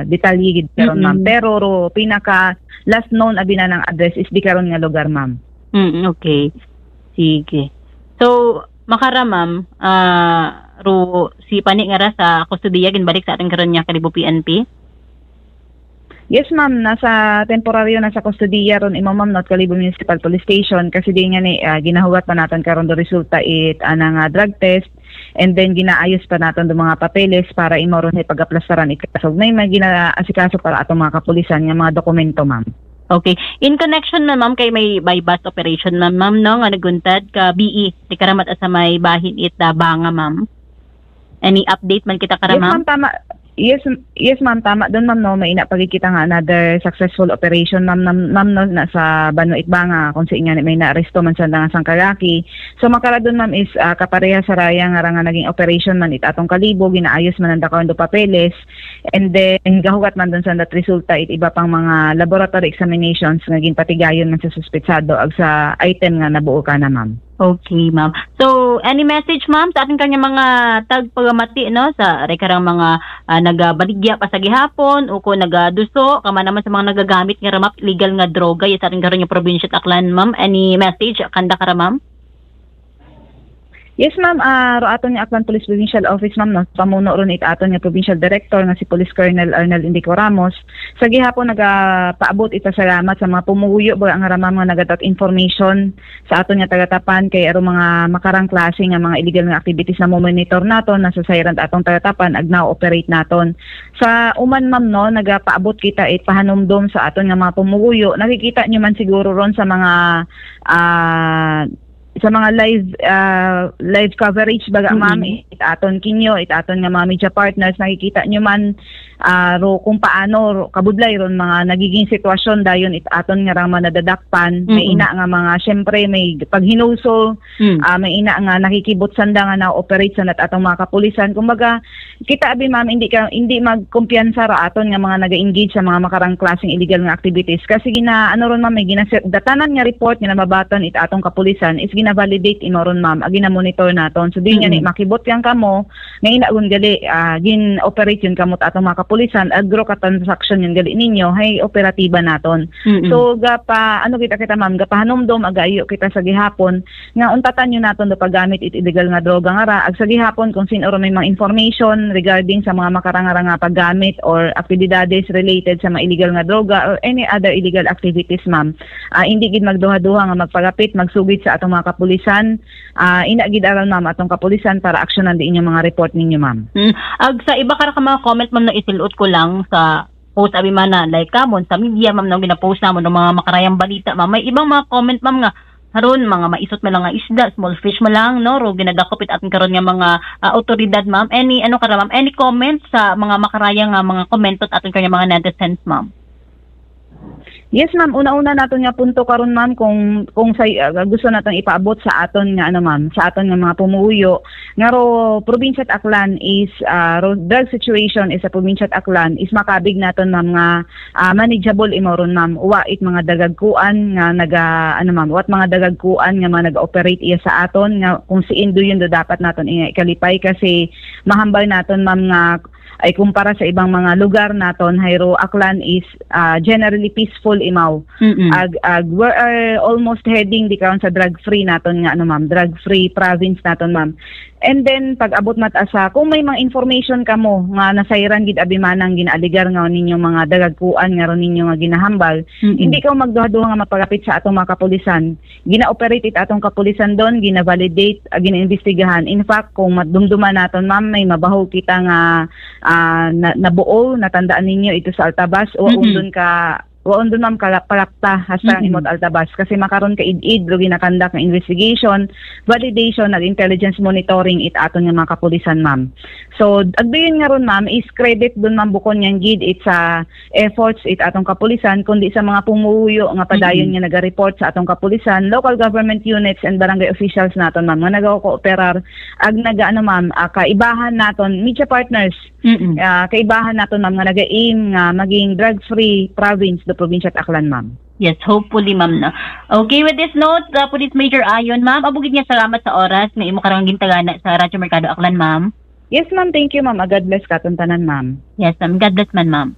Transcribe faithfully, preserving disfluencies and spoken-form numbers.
detalye gid karon, ma'am. Mm-mm. Pero ro, pinaka last known abi na ng address is di karon nga lugar, ma'am. Mm, okay. Sige. So, makara, ma'am, ah, ro, si pani nga ra sa kustodiya ginbalik sa aton karon nga Kalibo P N P? Yes, ma'am. Nasa temporaryo na sa kustodiya ron imo, ma'am, no, Kalibo Municipal Police Station, kasi di nga ni, ah, ginahuwat pa naton karon do resulta it anang, ah, drug test, and then ginaayos pa naton do mga papeles para imo ron ni pagaplastaran it kaso. May mga ginaasikaso para atong mga kapulisan nga mga dokumento, ma'am. Okay. In connection na, ma'am, kay may buy-bust operation, ma'am, ma'am, no, nga naguntad ka B E, di karamat sa may bahin it, ah, Banga, ma'am. Any update man kita kara, Yes, ma'am? ma'am, tama. Yes, m-, yes, ma'am, tama. Doon, ma'am, no, may ina pa gid kita nga another successful operation, ma'am, nam-, ma'am, no, na sa Banwa Itbanga, kung sa inyo may naaresto man sa nga sang kalaki. So, makara doon, ma'am, is, ah, kapareha sa raya nga ra nga naging operation man it atong Kalibo, ginaayos man ang dakawon do papeles, and then gahugat man doon sa nat resulta it iba pang mga laboratory examinations nga ginpatigayon man sa suspetsado ag sa item nga nabuo ka na, ma'am. Okay, ma'am. So, any message, ma'am, sa ating kanya mga tagpagamati, no? Sa aray karang mga, ah, nagabaligya pa sa gihapon o kung nagaduso, kama naman sa mga nagagamit nga ramap illegal nga droga, ya sa ating karon nga probinsya at Aklan, ma'am. Any message kanda kara, ma'am? Yes, ma'am. Ah, ro aton nga Aklan Police Provincial Office, ma'am, no? Pamuno ron it aton nga provincial director nga si Police Colonel Arnel Indico Ramos. Sa gihapon, nagapaabot ita salamat sa mga pumuyo ba nga ramam nga nagadat information sa aton nga tagatapan kay aro mga makarang klase nga mga illegal nga activities na mo-monitor naton, nasa sayran atong tagatapan, ag na-operate naton. Sa uman, ma'am, no, nagapaabot kita it pahanumdom sa aton nga mga pumuyo. Nakikita nyo man siguro ron sa mga, ah, sa mga live, ah, live coverage baga, Mm-mm. ma'am, it aton kinyo, it aton nga mga media partners, nakikita nyo man, ah, ro, kung paano ro, kabudlay ron mga nagiging sitwasyon dayon it aton nga rang mga nadadakpan, may Mm-mm. ina nga mga, syempre, may paghinuso, Mm. ah, may ina nga nakikibot sanda nga na-operate sa nat atong mga kapulisan. Kumbaga, kita abi, ma'am, hindi ka, hindi magkumpiyansa ra aton nga mga naga-engage sa mga makarang klaseng illegal nga activities. Kasi gina, ano ron, ma'am, may gina-, datanan nga report nga namabaton it atong kapulisan is gina-validate imo ron, ma'am, ag gina-monitor naton. So, di nga ni Mm-mm. makibot yang kamo, nga ina gun gali, ah, gin-operate yun kamo at atong mga kapulisan, agro ka transaction yun gali ninyo, hay operatiba naton. Mm-mm. So, gapa, ano kita, kita, ma'am, gapahanumdom, agayo kita sa gihapon, nga untatan nyo naton do paggamit it illegal nga droga nga ra. Ag sa gihapon, kung sin-o ra may mga information regarding sa mga makarang-arang nga paggamit or aktibidades related sa mga illegal nga droga or any other illegal activities, ma'am, ah, hindi gid magduha-duha nga magpagapit, magsugid sa atong mga kapulisan. Ah, ina gid aron, ma'am, atong kapulisan para aksyonan di inyong mga report ninyo, ma'am. Mm. Ag sa iba kara ka mga comment, ma'am, na isilot ko lang sa post abi man na, like, kamon sa media, ma'am, no, ginapost namon ang mga makarayang balita, ma'am. May ibang mga comment, ma'am, nga, karon, mga maisot man lang nga isda, small fish man lang, no, ro ginadakop it aton karon nga mga, ah, awtoridad, ma'am. Any, ano kara, ma'am, any comment sa mga makarayang nga mga comment at aton karon nga mga netizens, ma'am? Yes, ma'am. Una-una naton nga punto karon, ma'am, kung, kung sa, ah, gusto naton ipaabot sa aton nga, ano, ma'am, sa aton nga mga pumuyo, nga ro probinsya at Aklan is, ah, ro drug situation is sa probinsya at Aklan is makabig naton, ma'am, nga, ah, manageable imo ron, ma'am. Wa it mga dagagkuan nga naga, ano, ma'am, wa it mga dagagkuan nga mga nag-operate iya sa aton nga kung siin do yun do dapat naton iya ikalipay kasi mahambal naton, ma'am, nga ay kumpara sa ibang mga lugar naton, hay ro Aklan is, ah, generally peaceful imaw. Mm-mm. Ag, ag, we are almost heading di karon sa drug-free naton nga, ano, ma'am, drug-free province naton, ma'am. And then, pag abot mat asa, kung may mga information kamo nga nasayran gid abi manang ginaaligar nga ninyo mga dagagkuan nga ron ninyo nga ginahambal, Mm-mm. hindi ka magduha-duha nga mapagapit sa atong mga kapulisan. Gina-operate it atong kapulisan doon, gina-validate, ah, gina-imbestigahan. In fact, kung madumduman naton, ma'am, may mabahog kita nga, ah, na, nabuo, natandaan ninyo ito sa Altabas, o Mm-mm. undon ka, o undon, ma'am, kala-, palakta hasta ang Mm-mm. imot Altabas. Kasi makaron ka id-id, ro ginakandak nga investigation, validation, nag intelligence monitoring it aton nga mga kapulisan, ma'am. So, agbiyon nga ron, ma'am, is credit doon, ma'am, bukon niyang gid it sa efforts it atong kapulisan, kundi sa mga pumuyo nga padayon Mm-mm. nga naga-report sa atong kapulisan, local government units and barangay officials naton, ma'am, nga nagakooperar ag naga, ano, ma'am, ah, kaibahan naton, media partners, Mm-mm. ah, kaibahan naton, ma'am, nga naga-aim nga maging drug-free province do probinsya at Aklan, ma'am. Yes, hopefully, ma'am, no? Okay, with this note, uh, Police Major Ayon, ma'am, abugid nga salamat sa oras nga imo karong gintagana sa Radyo Merkado Aklan, ma'am. Yes, ma'am. Thank you, ma'am. Ah, God bless katon tanan, ma'am. Yes, ma'am. God bless man, ma'am.